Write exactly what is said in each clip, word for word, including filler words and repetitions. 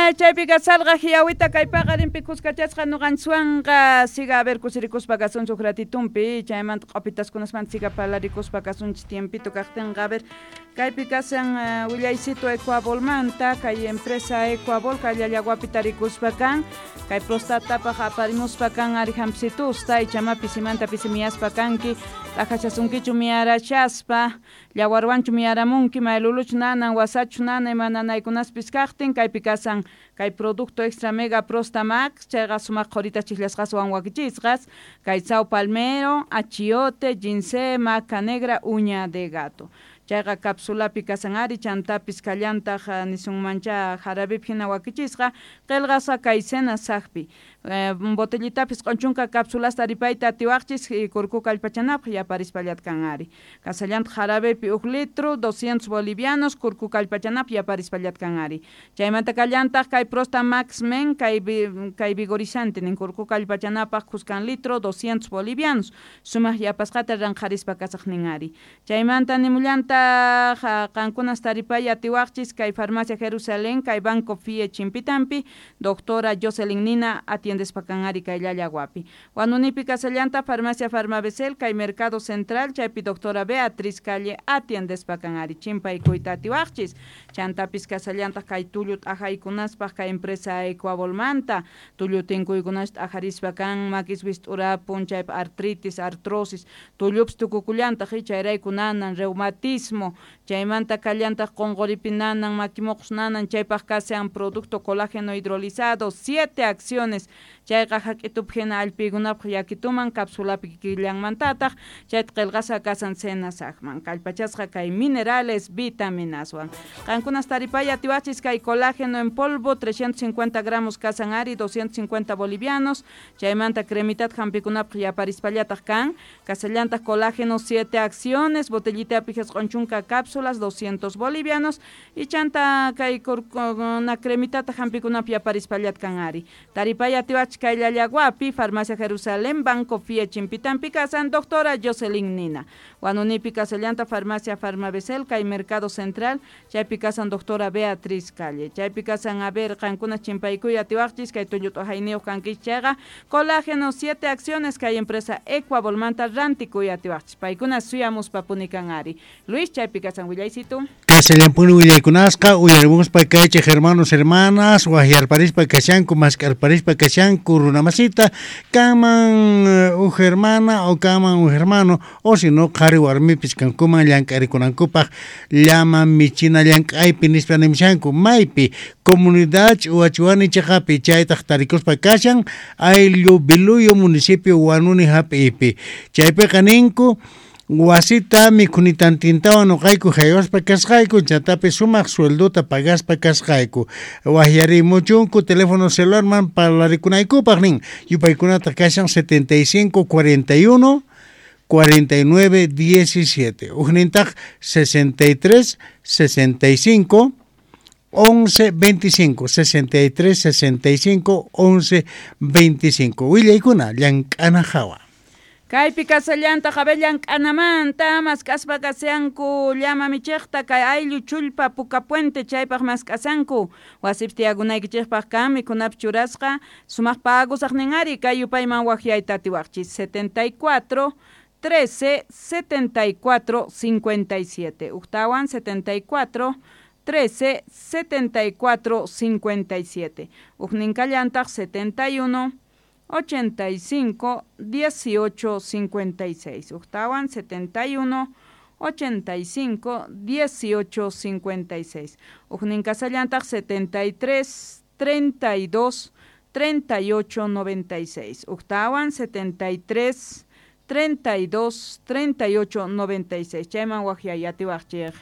Chaypi kasalqa hiawita kay paqarinpi kuskachasqa ñuqanchikwanqa siga a ver kusirikuspa kasunchik ratitumpi chaymanta q'upitaskunasmanta siga parlarikuspa kasunchik tiempito kaqtinqa a ver kaypi kasan willaycito Ecuabolmanta kay empresa Ecuabol kay Llallaguapi tarikuspa kan kay prostatapaq aparimuspa kan ari hampsitusta ichama pisimanta pisimiyaspa kanki t'ajachasunkichu miyarachaspa llawarwanchu miyaramunki mayluluchu nanan wasachu nana ima nanaykunaspis kaqtin kaypi kasan kay producto extra mega prosta max chayqa sumaq qhurita chiklasqaswan wakichisqas kay sao palmero, achiote, ginseng, maca negra, uña de gato chayqa capsulapi kasan ari chantapis kallantaq nisunmancha jarabepi hina wakichisqa qillqasqa kay cena saqpi botellitapis q'unchunka capsulasta taripayta atiwaqchis kurku kallpachanapaq yaparispallata kan ari kasallantaq jarabepi huk litro doscientos bolivianos kurku kallpachanapaq yaparispallata kan ari chaymanta kallantaq kay Prosta Max Men kay kay vigorizante nin kurku kallpachanapaq kuskan litro doscientos bolivianos sumaq yapasqata ranqharispa kasaq nin ari chaymanta nimullanta qankunas taripay atiwaqchis kay farmacia Jerusalén kay Banco F I E Chimpitampi doctora Jocelyn Nina atiendespa kan ari kay Llallaguapi Huanunipi kasallanta farmacia Farmabesel kay Mercado Central chaypi doctora Beatriz Calle atiendespa kan ari chimpaykuyta atiwaqchis chantapis kasallantaq kay tullu t'ajaykunaspaq kay empresa Ecuabolmanta tullu tinkuykunash t'ajarispa kan makis wist'urapun chaypi artritis artrosis tullupis tukukullantaq chayrayku nanan reumatismo chaymanta kallantaq qunquripi nanan makimoqos nanan chaypaq kasan producto colágeno hidrolizado siete acciones chayqa hak'itupi hina allpiykunapaq yakituman capsulapi kikillanmantataq chayta qillqasqa kasan cenasaqman kallpachasqa kay minerales vitaminaswan qankunas taripay atiwachis kay colágeno en polvo trescientos cincuenta gramos kasan ari doscientos cincuenta bolivianos chaymanta cremitat hampikunapaq yaparispallataq kan kasallantaq colágeno siete acciones botellitapi q'unchunka cápsulas doscientos bolivianos y chanta kay na cremitata hampikunapaq yaparispallat kan ari taripay atiwach kay Llallaguapi farmacia Jerusalén Banco F I E Chimpitampi kasan doctora Jocelyn Nina Huanunipi kasallanta farmacia Farmabesel kay Mercado Central chaypi kasan doctora Beatriz Calle chaypi kasan a ver qankuna chimpaykuy atiwaqchis kay tullu t'ajayniyuq kankichis chayqa colágeno siete acciones kay empresa Ecuabolmanta rantikuy atiwaqchis paykuna suyamuspa punikan ari Luis chaypi kasan willaysitu Kasallampuni willaykunasqa uyarimuspa kaychik hermanos hermanas wahyarparispa kashanku mask'arparispa kashanku runamasita kanman uj hermana o kanman uj hermano o si no qhari warmipis kankuman llank'arikunankupaq llama michina llank'aypi nispa nimushanku maypi comunidad Ch'uwachuani chaqapi chaytaq tarikuspa kashan ayllu Biluyo municipio Huanuni hap'ipi chaypiqa ninku wasita mikhunitantintawan nuqayku haywaspa kasqayku chantapis sumaq sueldota pagaspa kasqayku wahyarimuchunku teléfono celularman parlarikunaykupaq nin yupaykunataq kashan setenta y cinco cuarenta y uno cuarenta y nueve diecisiete ujnintaq sesenta y tres sesenta y cinco once veinticinco sesenta y tres sesenta y cinco once veinticinco willaykuna llank'ana hawa Kaypi kasallantaq a ver llank'anamanta mask'aspa kasanku llama michiqta kay ayllu chullpa Puka Puente chaypaq mask'asanku wasipi tiyakunaykichikpaq kan mikhunapi churasqa sumaq pagusaq nin ari kay yupayman wahyayta atiwaqchis setenta y cuatro trece setenta y cuatro cincuenta y siete uktawan setenta y cuatro trece setenta y cuatro cincuenta y siete ukninkallantaq setenta y uno ochenta y cinco dieciocho cincuenta y seis uktawan setenta y uno ochenta y cinco dieciocho cincuenta y seis ukninkasallantaq setenta y tres treinta y dos treinta y ocho noventa y seis uktawan setenta y tres treinta y dos treinta y ocho noventa y seis chayman wahyay atiwaqchik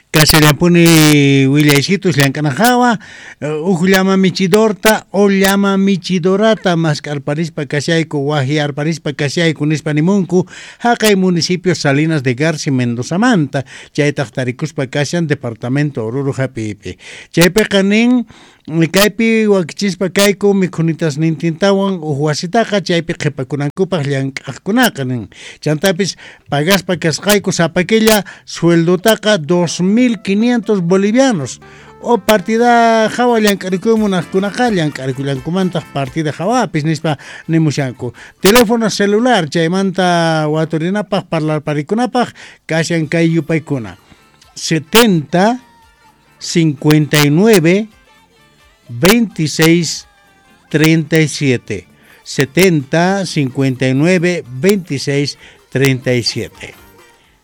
Kasallampuni willaysitus llank'ana hawa uj llama michidorta o llama michidorata mask'arparispa kashayku wahyarparispa kashayku nispa nimunku haqay municipio Salinas de Garci Mendozamanta chaytaq tarikuspa kashan departamento Oruro hap'ipi chaypiqa nin kaypi wakichispa kayku mikhunitas nintintawan uj wasitaqa chaypi qhipakunankupaq llank'aqkunaqa nin chantapis pagaspa kasqayku sapa killa sueldotaqa dos mil quinientos bolivianos O partida hawa llank'arikuy munaqkunaqa llank'arikullankumantaq partida hawapis nispa nimushanku. Teléfono celular chaymanta waturinapaq parlarparikunapaq kashan kay yupaykuna setenta cincuenta y nueve veintiséis treinta y siete setenta cincuenta y nueve veintiséis treinta y siete.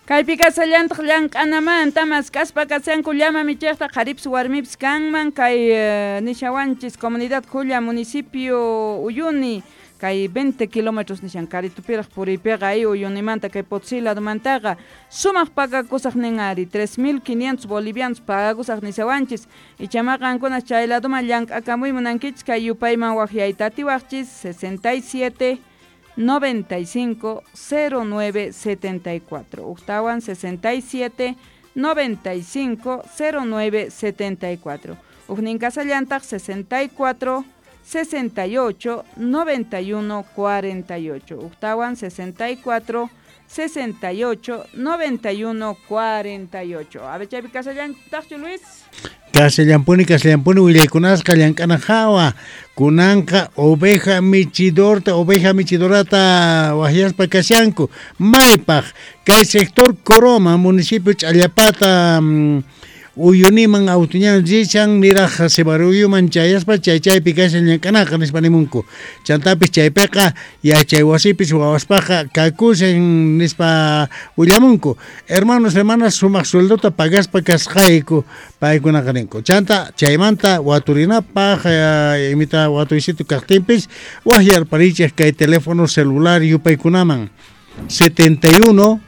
Kaypi kasallantaq llank'anamanta mask'aspa kashanku llama michiqta qharipis warmipis kanman kay uh, nishawanchis comunidad Julia municipio Uyuni kay veinte kilómetros nishan karitupiraq puriypiqa ay Uyunimanta kay Potosí ladomantaqa sumaq pagakusaq nin ari tres mil quinientos bolivianos pagakusaq nishawanchis ichamaqa qankuna chay ladoman llank'akamuy munankichis kay yupayman waqyayta atiwaqchis sesenta y siete noventa y cinco cero nueve setenta y cuatro Octawan sesenta y siete noventa y cinco cero nueve setenta y cuatro Ujnin kasallantaq sesenta y cuatro sesenta y ocho noventa y uno cuarenta y ocho Octawan sesenta y cuatro sesenta y ocho noventa y uno cuarenta y ocho. A ver, chaypi kasallantaqchu Luis? Kasallampuni, kasallampuni, willaykunasqa llank'ana hawa kunanqa oveja michidorta, oveja michidorata waqyaspa kashanku maypaq kay sector Coroma, municipio Ch'allapata, um, Uyuniman autuñan rishan niraj Cebaruyuman chayaspa chay chaypi kashan llank'anaqa nispa nimunku chantapis chaypiqa yachay wasipis wawaspaqa kakushan nispa willamunku. Hermanos, hermanas, sumaq sueldota pagaspa kasqayku paykunaqa ninku chanta chaymanta waturinapaq eh, imita watuysitu kaqtinpis waqyarparichej kay teléfono celular yupaykunaman setenta y uno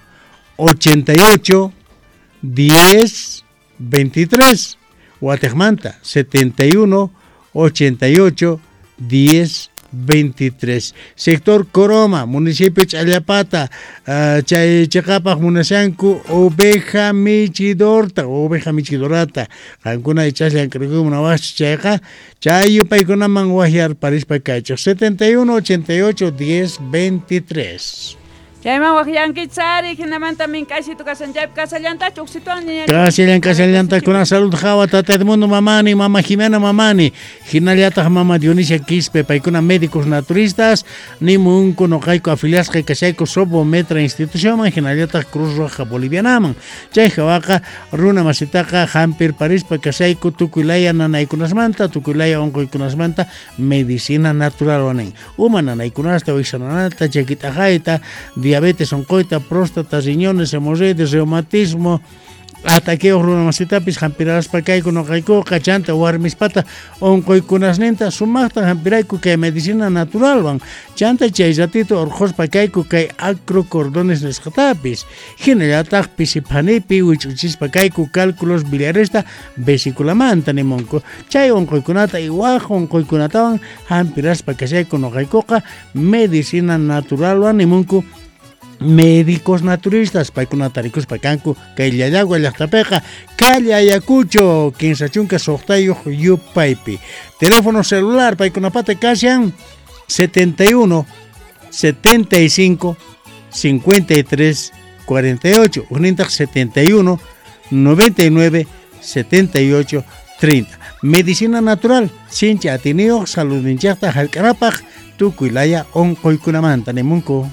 ochenta y ocho diez veintitrés Guatemala setenta y uno ochenta y ocho diez veintitrés Sector Coroma, municipio Ch'allapata, uh, chay chiqapaq munashanku oveja michidorta, oveja michidorata qankuna ichas llank'arikuy munawaqchis chayqa chay yupaykunaman waqyarparispa kaychik setenta y uno ochenta y ocho diez veintitrés. Chayman waqyankichis ari hinamanta mink'aysitu kashan chaypi kasallantachu uqsituwan ñaña Kasallan kasallanta kuna salud hawa tata Edmundo mamani mama Jimena mamani hinallataq mama Dionisia Quispe paykuna médicos naturistas nimunku noqayku afiliasqa kashayku Sobometra institucionman hinallataq Cruz Roja Bolivianaman chay hawaqa runa masitaqa hampirparispa kashayku tukuylaya nanaykunasmanta tukuylaya unquykunasmanta medicina natural wanin uma nanaykunasta wiksananata chakit'aqayta diabetes, oncoita, próstata, riñones, hemorroides, reumatismo, ataqueos runamasitapis hampiraspa kayku noqaykuqa chanta warmispata unquykunasninta sumaqta hampirayku kay medicina naturalwan chanta chay ratito urqhuspa kayku kay acrocordones nisqatapis hinallataq pisiphanipi wich'uchispa kayku cálculos biliaresta vesiculamanta nimunku chay unquykunata y waj unquykunatawan hampiraspa kashayku noqaykuqa medicina naturalwan nimunku médicos naturistas paykunata rikuspa kanku kay Llallagua llaqtapiqa calle Ayacucho kinsa chunka suqtayuq yupaypi teléfono celular paykunapata kashan setenta y uno setenta y cinco cincuenta y tres cuarenta y ocho unintaq setenta y uno noventa y nueve setenta y ocho treinta. Medicina natural sinchi atiniyuq saludninchaqta hark'anapaq tukuylaya unquykunamanta nimunku.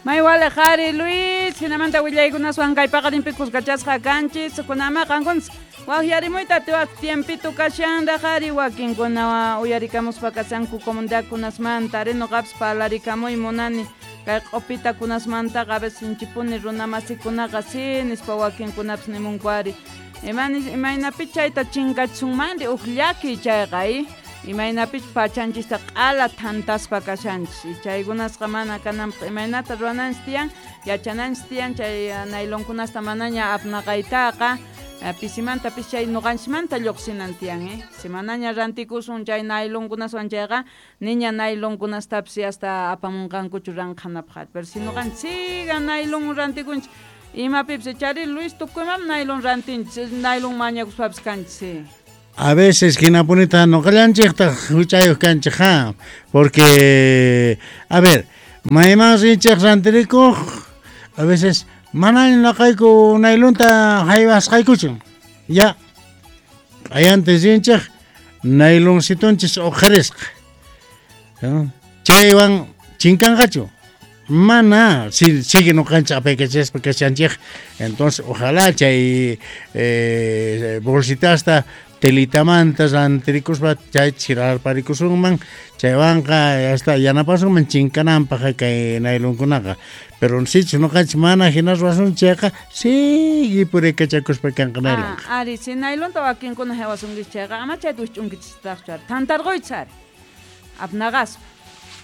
May wale qhari Luis, hinamanta willaykunaswan kay paqarinpi kuskachasqa kanchis, kunama qankunas waqyarimuyta atiwaq tiempito kashanraq qhari wakinkuna uyarikamuspa kashanku comunidadkunasmanta ari nuqapis parlarikamuy munani kay q'upitakunasmantaqa a veces sinchipuni runamasikunaqa si nispa wakinkunapis nimunku ari imanis imaynapi chayta chinkachisunmanri uq llaki chayqa i imaynapich pachanchista q'ala thantaspa kashanchis chaykunasqa mana kananpaq imaynata ruwananchis tiyan yachananchis tiyan chay nailonkunasta manaña apnaqaytaqa pisimanta pis chay nuqanchismanta lluqsinan tiyan eh si manaña rantikusun chay nailonkunaswan chayqa niña nailonkunastapis hasta apamunqankuchu ranqhanapaq pero si nuqanchis siga nailon rantikunchis imapipis chari Luis tukuymam nailon rantinchis nailon mañakuspapis kanchis. A veces hinapunita noqallanchikta huchayuq kanchik ha porque a ver mayman rinchik rantirikuq a veces mana noqayku nailonta haywasqaykuchu ya Q'ayantin rinchej nayloncitonchis uqharisqa. Chaywan chinkanqachu. Mana, si sigue noqanchis apaykachaspa kashanchej. Entonces, ojalá chay eh, bolsitasta telitamanta rantirikuspa chay chirarparikusunman chaywanqa hasta yanapasunman chinkananpaq kay naylonkunaqa. Pero sichus noqanchis mana hina ruwasun chayqa sigue purikachakuspa kanqa naylonqa. Ah, ari, si naylonta wakinkuna haywasunkichis chayqa ama chayta wisch'unkichistaqchu ari. Tantarquychis ari. Apnaqaspa.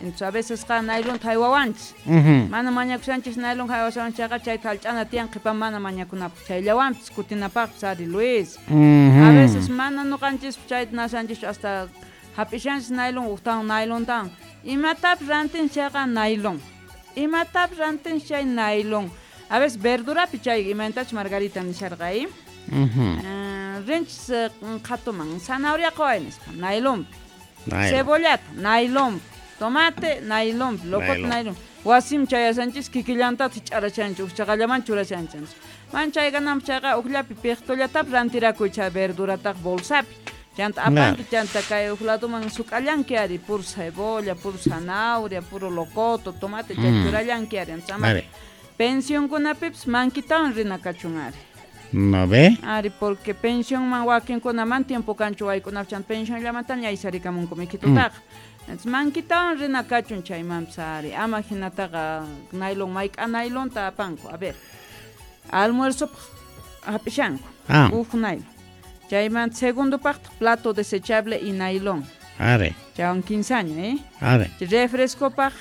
Entonces a veces qa naylonta haywawanchis. Uh-huh. Mana mañakushanchis naylon haywasanchis chayqa chayta hallch'ana tiyan qhipan mana mañakunapaq. Chayllawanpis kutinapaqpis ari Luis. Uh-huh. A veces mana noqanchispas chayta nashanchischu hasta hap'ishanchis naylon uqtawan naylontawan. Imatapis rantinchis chayqa naylon. Imatapis rantinchis chay naylon. A veces verdurapi chay imaynatachus Margarita nisharqa ahí. Uh-huh. Uh, rinchis qhatuman zanahoria qaway nispa naylonpi. Naylon. Cebollata naylonpi. Tomate, naylon, locoto, naylon. Wasim chayasanchis kikillantataq ch'arachanchis, uqchaqallaman churashanchis. Man chaykananpaq chayqa uqllapi piqtullatapas rantirakuy chay verdurataq bolsapi. Chanta apanki, chanta kay uq laduman suk'allanki ari, puro cebolla, puro zanahoria, puro locoto, tomate, chay mm. churallanki ari. Ama pensionkunapipis mankitawan rina kachun ari. ¿No ve? Ari, porque pensionman wakinkunaman tiempo kanchu waykunapaq chanta pensionllamantaña aysarikamunku mikitutaqa. Mm. Entonces, mankitawan rina kachun chaymanpis ari. Ama hinataqa naylon mayk'a naylonta apanku. A ver, almuerzopaq hap'ishanku. Ah. Uj naylon. Chayman segundopaqtaq plato desechable y naylon. Ari. Chaywan kinsaña, eh? Ari. Refrescopaq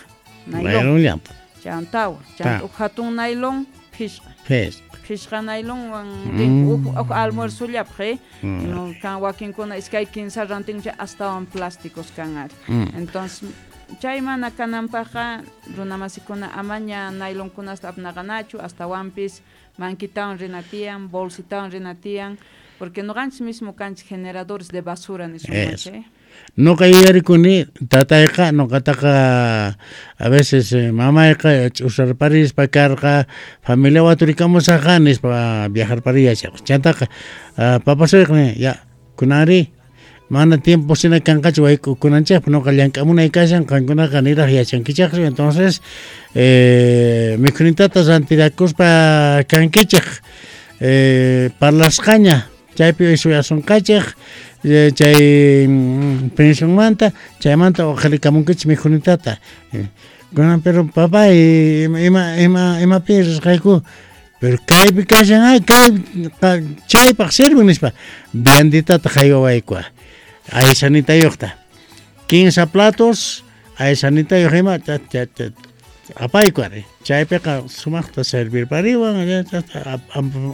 naylon. Naylonllanta. Chaywan tawa. Chaywan uj hatun naylon phishqa. Phishqa. Phishqa naylonwan mm. uj uj almuerzollapaq, eh? Mm. No, kan wakinkuna iskay kinsa rantinku chay astawan plásticos kan ari. Mm. Entonces, chay mana kananpaqqa runamasikuna amaña naylonkunasta apnaqanachu, astawanpis mankitawan rina tiyan, bolsitawan rina tiyan, porque noqanchis mismo kanchis generadores de basura nisunman, eh? Noqa yuyarikuni tatayqa noqataqa a veces eh, mamayqa ch'usarparispa karqa familia waturikamusaqqa nispa viajarpariyachaq. Chantaqa uh, papasuyqa ya kunanri mana tiempo sina kanqachu wayk'ukunanchikpaq noqa llank'amunay kashan qankunaqa niraq yachankichaqchu. Entonces eh, mikhunitata rantirakuspa kankichik eh, parlasqaña chaypi suyasunqachik chay pensionmanta chaymanta uqharikamunkichis mikhunitata. Kunan pero papá ima ima imapi risqayku pero kaypi kashan ay kay chaypaq sirven nispa vianditata haywawayku aysanitayuqta quince platos aysanitayuq ima apayku ari chaypiqa sumaqta servirpariwan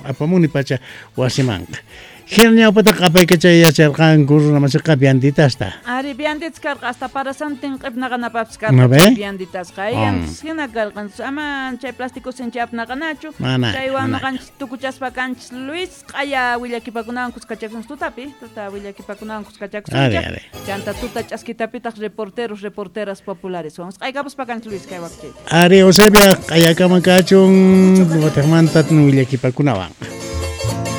apamuni pacha wasimanqa. Hina ñawpataqa apaykachay yacharqanku runamasiqa vianditasta. Ari, vianditas karqa hasta parasantin q'ipnaqanapaqpis karqa vianditasqa. Antes hina karqa ama chay plástico sinchi apnaqanachu. Chaywan noqanchis tukuchaspa kanchis Luis q'aya willakipakunawan kuskachakusunchis tutapi, tuta willakipakunawan kuskachakusunchis. Chanta tuta ch'askitapitaq reporteros, reporteras populares. Q'aykapuspa kanchis Luis kay wakchayta. Ari, Eusebia q'ayakaman kachun watiqmanta willakipakunawan.